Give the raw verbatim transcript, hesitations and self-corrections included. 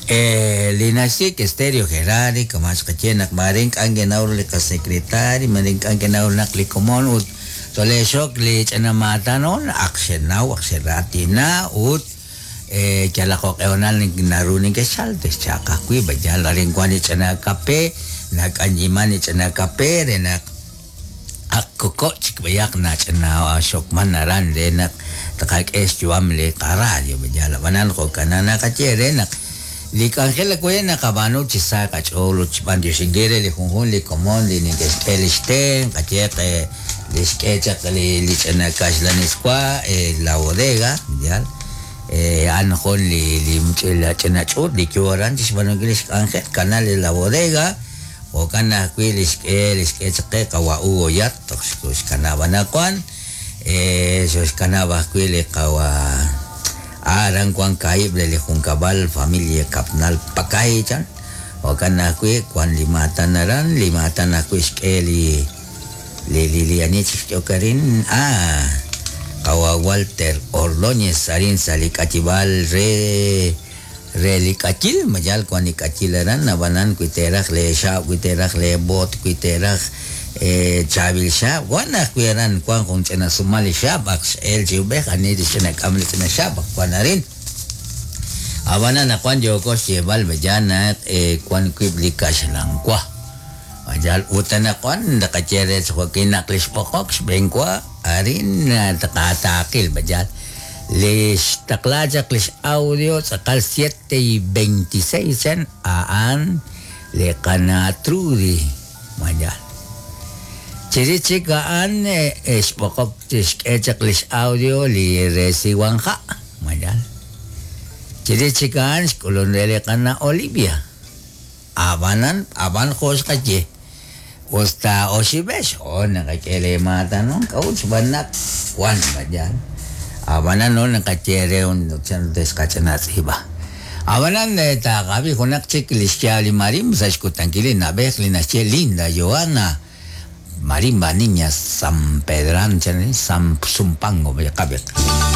Eh, li naxye que Stereo Gerari kama xqaye naq mare ink'a' nkenaw li qasekretari mare ink'a' nkenaw naq li komon ut tolexok li ch'ina maatanon ak xenaw ak xeratina ut eh, yalaq joq'ehonal naru ninkexchal texchaq ajwi' b'ayal arin wan li ch'ina kape nak'anyiman li ch'ina kape re naq ak koko' chik b'ayaq nach'ina xokman aran re naq taqak'e xyu'am li qaradio b'ayal ab'anan jo'kan naqaye re naq li k'anjel akuye naqab'aanu chi sa qach'ool ut xb'antioxinkil re li junjun li komon li ninkexk'e li xten qayeq li xk'e chaq li li ch'ina kaxlaniswa la bodega yal a'an jun li li ch'ina ch'uut li yo aran chi xb'aanunkil li xk'anjel canal de la bodega jo'kan ajwi' li xk'e li xk'e chaq qe qawa Hugo Yat toj xkanab' anaqwan xoxkanab' ajwi' li qawa aran wan kaib' re li junkab'al familia Kapnal Pakay chan jo'kan ajwi' wan li maatan aran li maatan ajwi' xk'e li li li li ani chik xk'eok arin ah qawa Walter Ordóñez arin sa' li k'atib'aal re re li k'ayil mayal wan li k'ayil aran ab'anan wi teeraj le xaab' wi teeraj le boot wi teeraj chaab'il xaab' wan ajwi' aran wan jun ch'ina sumal li xaab' ak x'eel chi ub'ej ani li ch'ina k'am li ch'ina xaab' ak wan arin ab'anan naq wan yooko xyeeb'al b'ayal naq wan wib' li kaxlanwa mayal ut anaqwan naqaye re jo'kin naq li xb'oqok xb'eenwa arin taqataaqil b'ayal li xtaqla chaq li xaudio tz'aqal siete y veintiséis chan a'an li qana Trudy mayal chirix chik a'an xb'oqok xk'e chaq li xaudio li re Siwanja mayal chirix chik a'an xk'ulun re li qana Olivia ab'anan ab'an jo xqaye usta oxib'ex o naqak'e le maatanon k'a'ut xb'aan naq wan mayal ab'anan no naqaye re un chan texqach'ina tz'iib'a ab'anan taqab'i junaq chik li xyaab' li marimba sa' xkutankil li na'b'ej li naxye Linda Joana Marimba Niña San Pedran chan San Zumpango qabiq.